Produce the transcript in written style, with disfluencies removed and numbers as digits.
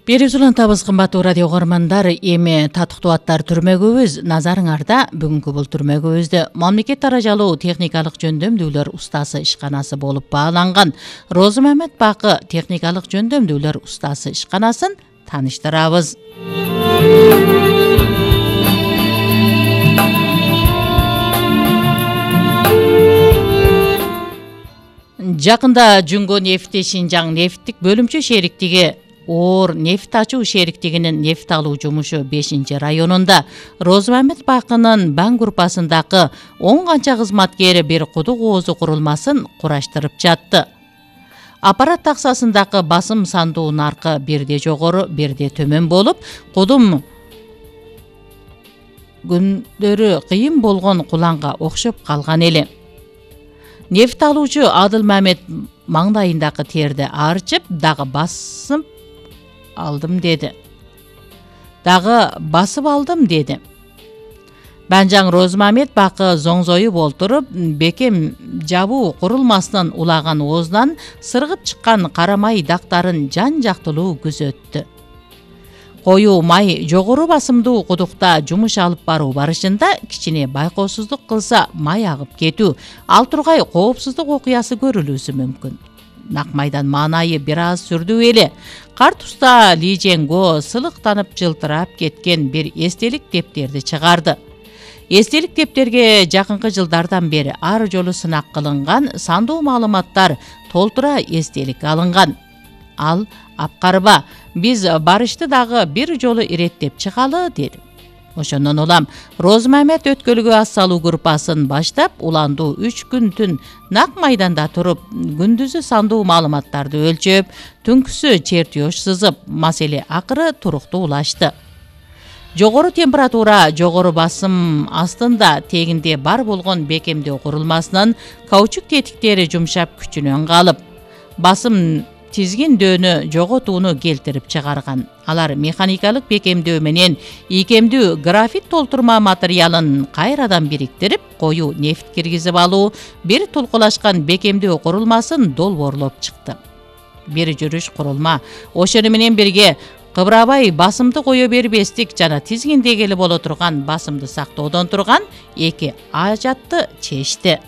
Берүүсү улантабыз кымбаттуу радио угармандар. Эми татыктуу аттар түрмөгүбүз назарыңарда. Бүгүнкү бул түрмөгүбүздө мамлекет даражалуу техникалык жөндөмдүүлөр устасы ишканасы болуп бааланган Розы Мамед Бакы техникалык жөндөмдүүлөр устасы ишканасын тааныштырабыз. Жакында Жүнгө нефти Шинжаң нефттик бөлүмчө шериктиги оор нефт ачуу шериктигинин нефт алуу жумушу 5-районунда Розы Мамед Бакынын Баң группасындагы 10 канча кызматкери бир кудук оозу курулмасын кураштырып жатты. Аппарат таксасындагы басым сандуу наркы бирде жогору, бирде төмөн болуп, кудум күндөрү кыйын болгон куланга окшоп калган эле. Нефт алуучу Адыл Мамед маңдайындагы терди арчып, дагы басып алдым деди. Банжаң Розы Мамед Бакы зоңзоюп олтуруп, бекем жабуу курулмасынын улаган оозунан сыргып чыккан кара май дактарын жан-жактылуу күзөттү. Коюу май жогору басымдуу кудукта жумуш алып баруу барышында кичине байкоосуздук кылса май агып кетүү, ал тургай коопсуздук окуясы көрүлүүсү мүмкүн. Нак майдан маанайы бир аз сүрдүү эле. Карт уста Ли Женго сылыктанып жылтырап кеткен бир эстелик дептерди чыгарды. Эстелик дептерге жакынкы жылдардан бери ар жолу сынак кылынган сандуу маалыматтар толтура эстелик алынган. Ал апкарба, биз барышты дагы бир жолу иреттеп чыгалы деди. Ошондон улам Розы Мамед өткөлгө ас салуу группасын баштап, уландуу 3 күн түн нак майданда туруп, күндүзү сандуу маалыматтарды өлчөп, түнкүсү чертеж сызып, маселе акыры туруктуу улашты. Жогору температура, жогору басым астында тегинде бар болгон бекемдөө курулмасынын каучук тетиктери жумшап күчүнөн калып, басым тизгин дөөнү жоготууну келтирип чыгарган. Алар механикалык бекемдөө менен ийкемдүү графит толтурма материалын кайрадан бириктирип, коюу нефт киргизип алуу, бир тулкулашкан бекемдөө курулмасын долбоорлоп чыкты. Бир жүрүш курулма ошону менен бирге кыбырабай басымды кое бербестик жана тизгиндегили боло турган басымды сактоодон турган эки ажатты чечти.